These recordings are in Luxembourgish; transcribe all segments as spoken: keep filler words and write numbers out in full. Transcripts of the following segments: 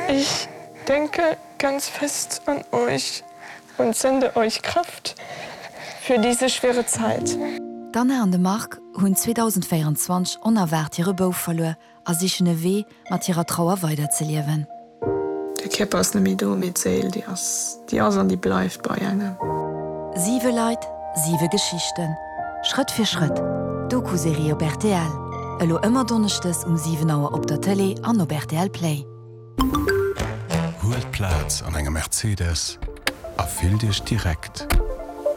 Ich denke ganz fest an euch und sende euch Kraft für diese schwere Zeit. D'Anna an de Marc hunn zweedausendvéierenzwanzeg onerwaart hire Bouf verluer a sichen e Wee, mat hirer Trauer weiderzeliewen. De Kierper ass net méi do, mee d'Séil, déi ass, déi ass an déi bleift bei engem. Siwe Leit, siwe Geschichten. Schrëtt fir Schrëtt, d'Doku-Serie op rtl, elo ëmmer donneschdes um siwen Auer op der Tëlee an op rtl Play. Huelt Plaz an engem Mercedes a fillt Iech direkt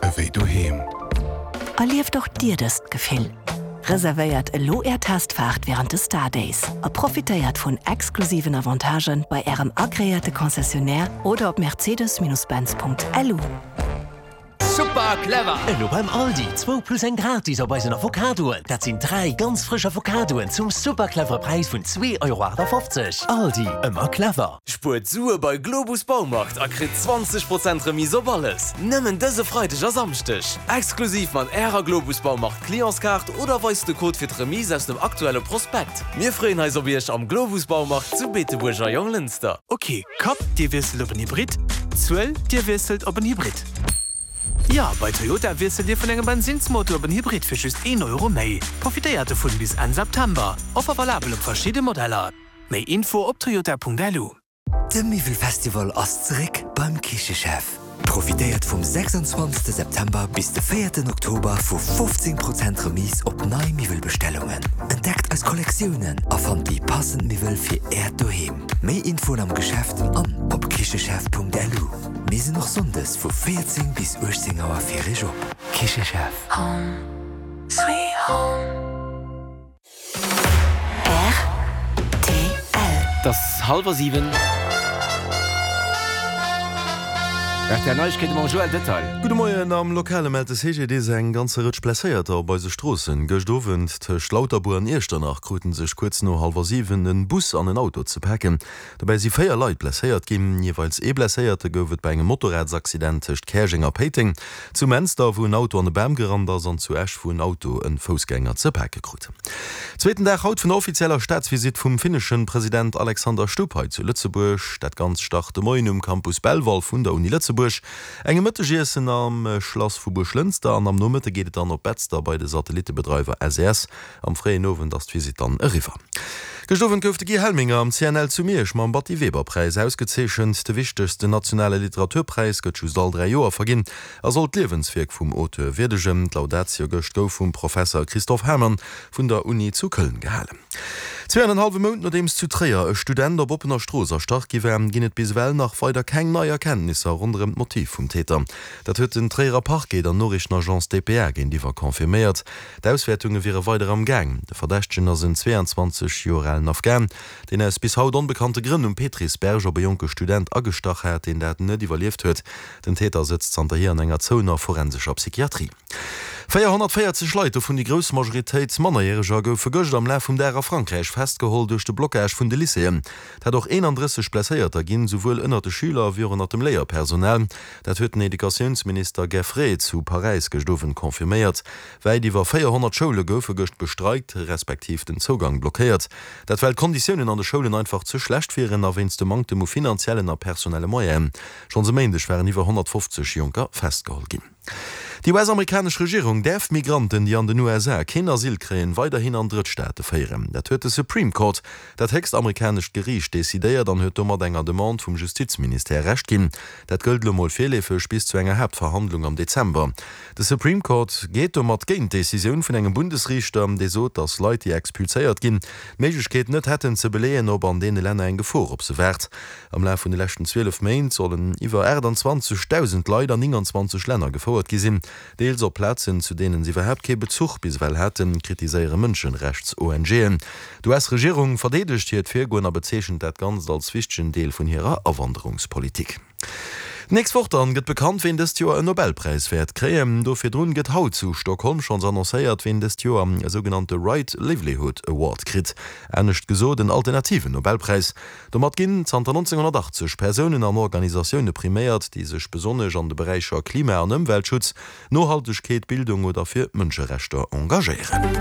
ewéi doheem. Erlieft och Dir dëst Gefill! Reservéiert elo Är Testfaart wärend de Star Days a profitéiert vun exklusiven Avantagen bei Ärem agreéierte Concessionnaire oder op mercedes-benz.lu. Super clever! Elo beim Aldi, zwou plus eng gratis op eisen Avocadoen. Dat sinn dräi ganz frësch Avocadoen zum super clevere Präis vun zwee Euro achtafofzeg. Aldi, ëmmer clever! Spuert Sue bei Globus Baumarkt a kritt zwanzeg Prozent Remise op alles! Nëmmen dëse Freideg a Samschdeg! Exklusiv mat Ärer Globus Baumarkt Clientskaart oder weist de Code fir d'Remise aus dem aktuelle Prospekt. Mir freeën eis op Iech am Globus Baumarkt zu Beetebuerg a Jonglënster. Ok, Kapp, Dir wiesselt op en Hybrid, Zuel, Dir wiesselt op en Hybrid. Jo, bei Toyota wiesselt Dir vun engem Bensinnsmotor op en Hybrid fir just een Euro méi. Profitéiert dovun bis Enn September. Offer valabel op verschidde Modeller. Méi Info op toyota.lu. De Miwwelfestival ass zeréck beim Kichechef! Profitéiert vum sechsundzwanzegste September bis de véierten Oktober vu fofzéng Prozent Remise op nei Miwwelbestellungen. Entdeckt eis Kollektiounen a fannt déi passend Miwwel fir Äert Doheem. Méi Infoen am Geschäft an op kichechef.lu. Mir sinn och Sonndes vu véierzéng bis uechtzéng Auer fir Iech op. Kichechef. Home sweet home. R T L. Et ass hallwer siwen. R T L Neiegkeete mam Joël Detail. Gudde Moien. Am Lokale mellt de C G D S eng ganze Rëtsch Blesséierter op eise Stroossen. Gëscht Owend tëscht Lauterbuer an Iechternach kruten sech kuerz no hallwer siwen en Bus an en Auto ze paken. Dobäi si véier Leit blesséiert ginn. Jeeweils ee Blesséierte gouf et bei engem Motorradsaccident tëscht Käerjeng a Péiteng, zu Menster, wou en Auto an e Bam gerannt ass, an zu Esch, wou en Auto e Foussgänger ze pake krut. Zweeten Dag haut vun der offizieller Staatsvisitt vum finneschen President Alexander Stubb hei zu Lëtzebuerg. Dat Ganzt start de Moien um Campus Belval vun der Uni Lëtzebuerg, engem Mëttegiessen am Schlass vu Buerglënster an am Nomëtte geet et dann op Betzder bei de Satellittebedreiwer S E S. Am fréien Owend ass d'Visitt dann eriwwer. Gëscht Owend gouf de Guy Helminger am C N L zu Miersch mam Batty Weber Präis ausgezeechent. De wichtegsten nationale Literaturpräis gëtt just all dräi Joer verginn a soll d'Liewenswierk vum Auteur wierdegen. D'Laudatio gëscht gouf vum Professer Christoph Herrmann vun der Uni zu Köln gehalen. Zwee an en hallwe Mount nodeems zu Tréier e Student op oppener Strooss erstach gi war, ginn et bis ewell nach weider keng nei Erkenntnisser ronderëm d'Motiv vum Täter. Dat huet den Tréierer Parquet der Noriichtenagence D P A géintiwwer confirméiert. D'Auswäertunge wiere weider am Gaang. De Verdächtegen ass en zweeanzwanzeg Joer alen Afghan, deen aus bis haut onbekannte Grënn um Petrisberg op e jonke Student agestach hat, deen dat net iwwerlieft huet. Den Täter sëtzt zanterhier an enger zouener forensescher Psychiatrie. Véierhonnertvéierzeg Leit, dovun déi grouss Majoritéit Mannerjäreger, goufe gëscht am Laf vum Dag a Frankräich festgeholl duerch de Blockage vun de Lycéeën. Et hat och eenandrësseg Blesséierter ginn, souwuel ënnert de Schüler wéi och ënnert dem Léierpersonal. Dat huet den Educatiounsminister Geffray zu Paräis gëscht Owend confirméiert. Wäit iwwer véierhonnert Schoule goufe gëscht bestreikt, respektiv den Zougang blockéiert. Dat well d'Konditiounen an de Schoulen einfach ze schlecht wieren a wéinst dem Manktem u finanziellen a personelle Moyenen. Schonns e Méindeg waren iwwer honnertfofzeg Jonker festgeholl ginn. Déi U S-amerikanesch Regierung däerf Migranten, déi an den U S A keen Asyl kréien, weiderhin an Drëttstaate féieren. Dat huet de Supreme Court, dat héchst amerikanescht Geriicht, decidéiert an huet domat enger Demande vum Justizministère Recht ginn. Dat gëllt elo mol virleefeg bis zu enger Haaptverhandlung am Dezember. De Supreme Court geet domat géint d'Decisioun vun engem Bundesriichter, dee sot, datt Leit, déi expulséiert ginn, d'Méiglechkeet net hätten ze beleeën, ob an deene Länner eng Gefor op se waart. Am Laf vun de leschten zwielef Méint sollen iwwer aachtanzwanzegdausend Leit an nénganzwanzeg Länner gefouert gi sinn, deels op Plazen, zu deenen se iwwerhaapt kee Bezuch bis ewell haten, kritiséiere Mënscherechts-O N G'en. D'U S-Regierung verdeedegt hiert Virgoen a bezeechent dat Ganzt als wichtegen Deel vun hirer Awanderungspolitik. D'nächst Woch dann gëtt bekannt, ween dëst Joer en Nobelpräis wäert kréien. Do virdrun gëtt haut zu Stockholm schonns annoncéiert, ween dëst Joer e sougenannte Right Livelihood Award kritt. Anescht gesot, en alternativen Nobelpräis. Domat ginn zanter nonzénghonnertachtzeg Persounen an Organisatioune priméiert, déi sech besonnesch an de Beräicher Klima an Ëmweltschutz, Nohaltegkeet, Bildung oder fir Mënscherechter engagéieren.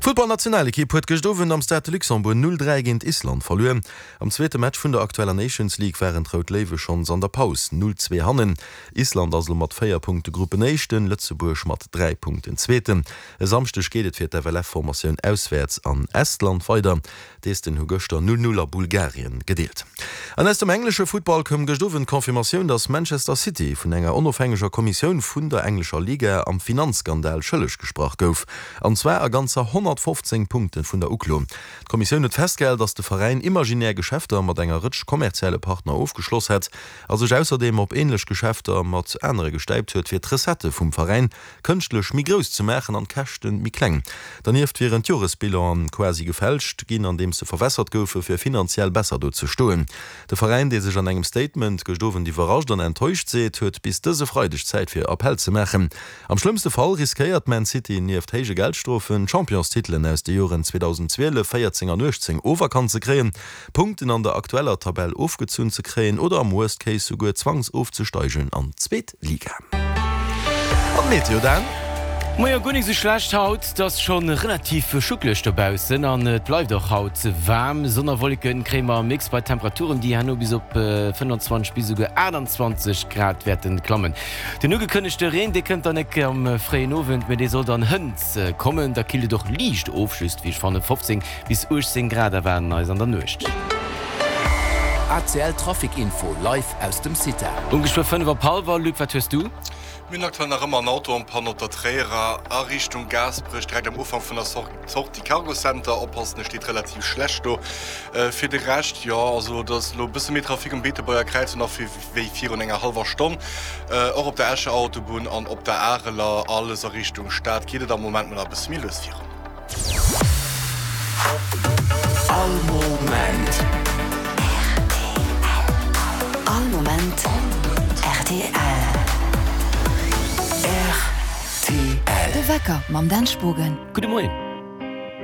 D'Futtballnationalekipp huet gëscht Owend am Stade de Luxembourg null dräi géint Island verluer. Am zweete Match vun der aktueller Nations League waren d'Rout Léiwe schonns an der Paus null zwee hannen. Island ass elo mat véier Punkte Gruppenéischten, Lëtzebuerg mat dräi Punkten Zweeten. E Samschdeg geet et fir d'F L F-Formatioun auswäerts an Estland weider. D'Esten hu gëschter null null a Bulgarien gedeelt. An aus dem englesche Futtball koum gëscht Owend d'Confirmatioun, datt Manchester City vun enger onofhängeger Kommissioun vun der englescher Liga am Finanzskandal schëlleg gesprach gouf. An zwar a ganzer honnertfofzéng Punkte vun der Uklo. D'Kommissioun huet festgehal, datt de Veräin imaginär Geschäfter mat enger Rëtsch kommerzielle Partner ofgeschloss hätt a sech ausserdeem op änlech Geschäfter mat anere gestäipt huet, fir d'Recettë vum Veräin kënschtlech méi grouss ze maachen an d'Käschte méi kleng. Dernieft wieren d'Joresbilanen quasi gefälscht ginn, andeems se verwässert goufe fir finanziell besser do ze stoen. De Veräin, dee sech an engem Statement gëscht Owend iwwerrascht an enttäuscht seet, huet bis dëse Freideg Zäit fir Appell ze maachen. Am schlëmmste Fall riskéiert Man City nieft héije Geldstrofen, d'Championstitelen aus de Joren zweedausendzwielef, véierzéng an uechtzéng oferkannt ze kréien, Punkten an der aktueller Tabell ofgezunn ze kréien oder am Worst Case souguer zwangsofzesteigen an d'zweet Liga. An d'Meteo Dan? Majo, guer nik sou schlecht haut, et ass schonn relativ schuckeleg dobaussen an et bleift och haut waarm. Sonn a Wolleken kréie mer am Mix bei Temperaturen, déi herno bis op fënnfanzwanzeg bis esouguer aachtanzwanzeg Grad wäerten klammen. Den ugekënnegte Reen, dee kënnt dann nek am fréien Owend, mee dee soll dann hënt kommen. Da killt et och liicht of, just wéi ech fannen fofzéng bis uechtzéng Grad erwaarden eis an der Nuecht. A C L Trafic Info live aus dem CITA. Um geschwë fënnef op hallwer, Luc, wat hues du? Mir hunn aktuell nach ëmmer en Auto en panne op der Tréierer a Richtung Gaasperech, direkt am Ufank vun der Sortie Cargo Center. Oppassen, e steet relativ schlecht do. Fir de Rescht, jo, also et ass elo e bësse méi Trafic um Beetebuerger Kräiz nach wéi virun enger hallwer Stonn. Och op der Escher Autobunn an op der Areler, alles a Richtung Stad, geet et am Moment mol nach e bësse méi lues virun. All Moment. All Moment rtl. Rtl. De Wecker mam Dan Spogen. Gudde Moien.